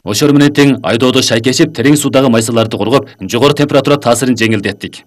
Ошол менен тең айдоодо шайкешип, терең суудагы майсаларды коргоп, жогору температура таасирин жеңилдеттик.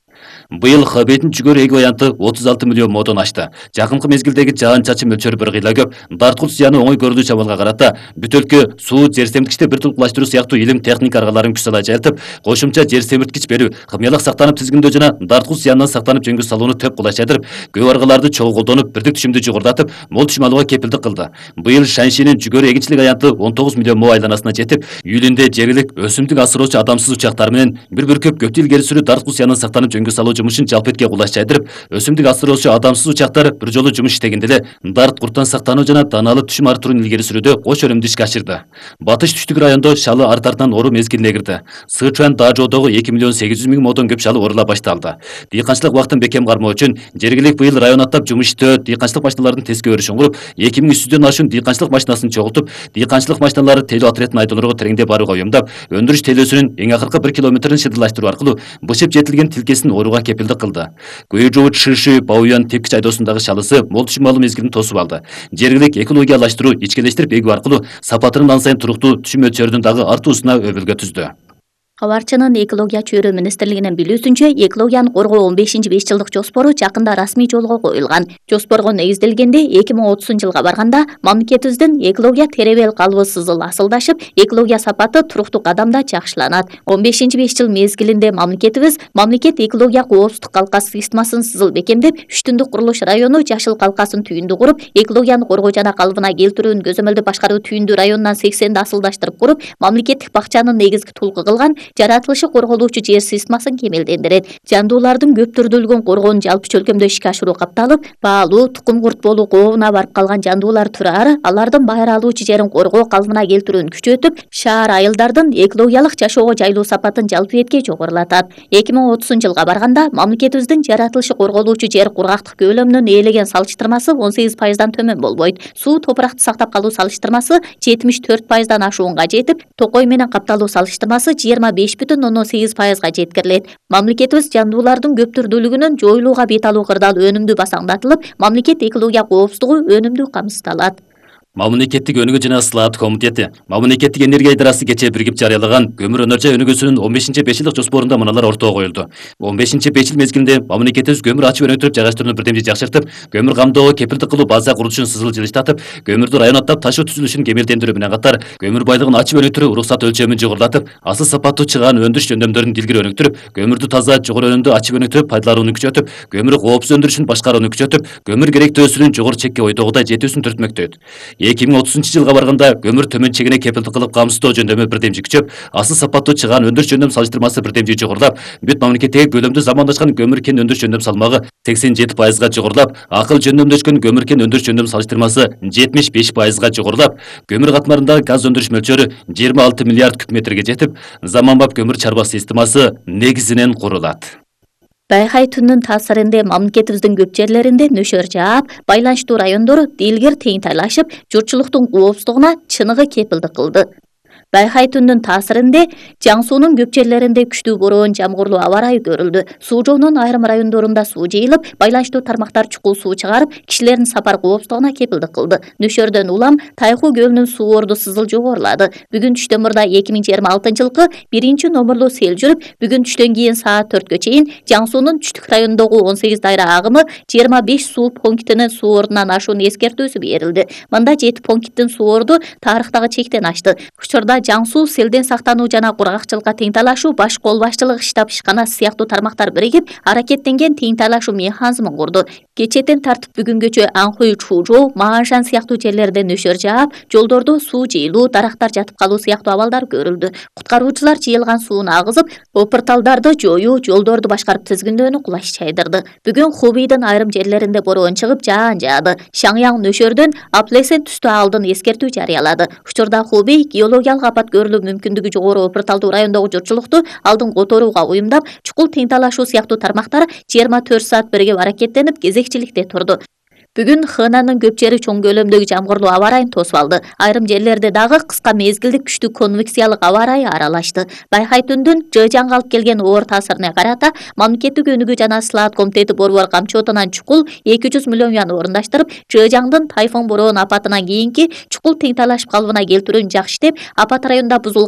Быйыл Хабейдин жүгөрү эги варианты 36 миллион модон ашты. Жакынкы мезгилдеги жаан-чачын мөлчөрү бир кыйла көп, дарткул зыяны оңой көрүлүү чамалга карата бүтөлкө, суу, жер семирткичти бир тулкулаштыруу сыяктуу илим техника аргаларын күч сала жайылтып, кошумча жер семирткич берүү, хымиялык сактанып тизгиндөө жана дарткул зыяндан сактанып жөнгө салууну төп кулайчадырып, көп аргаларды чогуу колдонуп, бирдик түшүмдү жогорулатып, мол түшүм алууга кепилдик кылды. Быйыл Шаншинин жүгөрү эгинчилик аянты 19 миллион мо айланасына жетип, июлүндө жергилик өсүмдүк асыроочу адамсыз учактар менен бир бүркөп көптү илгери сүрүү дарткул зыяндан сактанып жөнгө салуу жумушун жалпы этке кулаш жайдырып, өсүмдүк асыроочу адамсыз учактар бир жолу жумуш иштегенде эле дарт курттан сактануу жана дааналуу түшүм арттыруун илгери сүрүүдө кош өнүмдү ишке ашырды. Батыш түштүк райондо шалы арт-артынан оруу мезгилине кирди. Сычуан Дажоодогу 2 миллион 800 миң модон көп шалы орула башталды. Дыйканчылык убактын бекем кармоо үчүн жергилик быйыл район аттап жумуш иштөө, дыйканчылык машиналардын теске өрүшүн куруп, 2300дөн ашуун дыйканчылык машинасын чогултуп, дыйканчылык машиналары тейлөө отрядын айдоолорго тереңдеп барууга уюмдап, өндүрүш тейлөөсүнүн эң акыркы 1 километрин шыдырлаштыруу аркылуу бышып жетилген тилкесин орууга кепилдик кылды. Куйжуу Чыши Баоюан тепкич айдоосундагы шалысы мол түшүм алуу мезгилин тосуп алды. Жергилик экологиялаштыруу, ичкелештирип эгүү аркылуу сапатынын ан сайын туруктуу түшүм мөлчөрүнүн дагы артуусуна өбөлгө түздү. Кабарчынын экология чөйрө министрлигинин билүүсүнчө, экологияны коргоо 15-5 жылдык жоспору жакында расмий жолго коюлган. Жоспорго негизделгенде 2030-жылга барганда мамлекетибиздин экология теребел калыбы сызыл асылдашып, экология сапаты туруктуу кадамда жакшыланат. 15-5 жыл мезгилинде мамлекет экология коопсуздук калкасы системасын сызыл бекемдеп, Үчтүндүк курулуш району жашыл калкасын түйүндү куруп, экологияны коргоо жана калыбына келтирүүнү көзөмөлдү башкаруу түйүндү районунан 80ди асылдаштырып куруп, мамлекеттик бакчанын негизги тулку кылган жаратылышы корголуучу жер системасын кемелдендирет. Жандуулардын көп түрдүүлүгүн коргоонун жалпы чөлкөмдө ишке ашыруу катталып, баалуу, тукум курт болуу кообуна барып калган жандуулар турары, алардын байра алуучу жерин коргоо калыбына келтирүүнү күчөтүп, шаар айылдардын экологиялык жашоого жайлуу сапатын жалпы этке жогорулатат. 2030-жылга барганда мамлекетибиздин жаратылышы корголуучу жер кургактык көлөмүнүн ээлеген салыштырмасы 18%дан төмөн болбойт. Суу топуракты сактап калуу салыштырмасы 74%дан ашуунга жетип, токой менен капталуу салыштырмасы 25,8%га жеткирилет. Мамлекетибиз жандуулардын көп түрдүүлүгүнүн жоюлууга бет алуу кырдаал өнүмдүү басаңдатылып, мамлекет экология коопсуздугу өнүмдүү камсыздалат. Мамлекеттик өнүгүү жана слаат комитети Мамлекеттик энергия идарасы кечээ биригип жарыялаган көмүр өнөр-жай өнүгүүсүнүн 15-5 жылдык жоспорунда мыналар ортого коюлду. 15-5 жыл мезгилинде мамлекетибиз көмүр ачып өнүктүрүп жайгаштырууну бирдемде жакшыртып, көмүр камдоого кепилдик кылуу база курулушун сызыл жылыштатып, көмүрдү район аттап ташуу түзүлүшүн кемелдендирүү менен катар, көмүр байлыгын ачып өнүктүрүү уруксат өлчөмүн жогорулатып, асыл сапаттуу чыгаан өндүрүш жөндөмдөрүн дилгири өнүктүрүп, көмүрдү таза, жогору өнүмдүү ачып өнүктүрүп пайдаланууну күчөтүп, көмүр коопсуз өндүрүшүн башкарууну күчөтүп, көмүр керектөөсүнүн жогору чекке ойдогудай жетүүсүн түртмөктөйт. 2030-жылга барганда көмүр төмөн чегине кепилдик кылып камсыздоо жөндөмү бирдемжи күчөп, асыл сапаттуу чыгаан өндүрүш жөндөм салыштырмасы бирдемжи жогорулап, бүт мамлекеттеги көлөмдүү замандашкан көмүр кен өндүрүш жөндөм салмагы 87%га жогорулап, акыл жөндөмдөшкөн көмүр кен өндүрүш жөндөм салыштырмасы 75%га жогорулап, көмүр катмарындагы газ өндүрүш мөлчөрү 26 миллиард куб метрге жетип, заманбап көмүр чарба системасы негизинен курулат. Байхай түнүнүн таасиринде мамлекетибиздин көп жерлеринде нөшөр жаап, байланыштуу райондор дилгир теңтайлашып, журтчулуктун коопсуздугуна чыныгы кепилдик кылды. Байхай түнүнүн таасиринде Жаң суунун көп жерлеринде күчтүү бороон, жамгырлуу аба ырайы көрүлдү. Суу жоонун айрым райондорунда суу жыйылып, байланыштуу тармактар чукул суу чыгарып, кишилердин сапар коопсуздугуна кепилдик кылды. Нөшөрдөн улам Тайху көлүнүн суу орду сызыл жогорулады. Бүгүн түштөн мурда 2026-жылкы 1-номерлуу сел жүрүп, бүгүн түштөн кийин саат 4кө чейин Жаң суунун түштүк районундагы 18 дайра агымы 25 суу пунктинин суу ордунан ашуунун эскертүүсү берилди. Мында 7 пункттин суу орду тарыхтагы чектен ашты. Учурда Жаң суу селден сактануу жана кургакчылыкка теңтайлашуу баш кол башчылыгы штаб ишканасы сыяктуу тармактар биригип, аракеттенген теңтайлашуу механизмин курду. Кечээден тартып бүгүнгөчө Анхуй, Чужоу, Мааншан сыяктуу жерлерде нөшөр жаап, жолдордо суу жыйылуу, дарактар жатып калуу сыяктуу абалдар көрүлдү. Куткаруучулар жыйылган сууну агызып, опурталдарды жоюу, жолдорду башкарып тизгиндөөнү кулаш чайдырды. Бүгүн Хубейдин айрым жерлеринде бороон чыгып, жаан жаады. Шаңяң нөшөрдөн Аплесен түстү алдын эскертүү жарыялады. Учурда Хубей геологиялык апат көрүлүү мүмкүндүгү жогору опурталдуу райондогу журтчулукту алдын которууга уюмдап, чукул теңтайлашуу сыяктуу тармактар 24 саат биригип аракеттенип, кезекчиликте турду. Бүгүн Хэнанын көп жери чоң көлөмдөгү жамгырлуу аба ырайын тосуп алды. Айрым жерлерде дагы кыска мезгилдик күчтүү конвекциялык аба ырайы аралашты. Байхай түндүн Жэжаңга алып келген оор таасирине карата мамлекеттик өнүгүү жана слаат комитети борбор камчотунан чукул 200 миллион юан орундаштырып, Жэжаңдын тайфун бороон апатынан кийинки чукул теңтайлашып калыбына келтирүүнү жакшы иштеп, апат районунда бузулган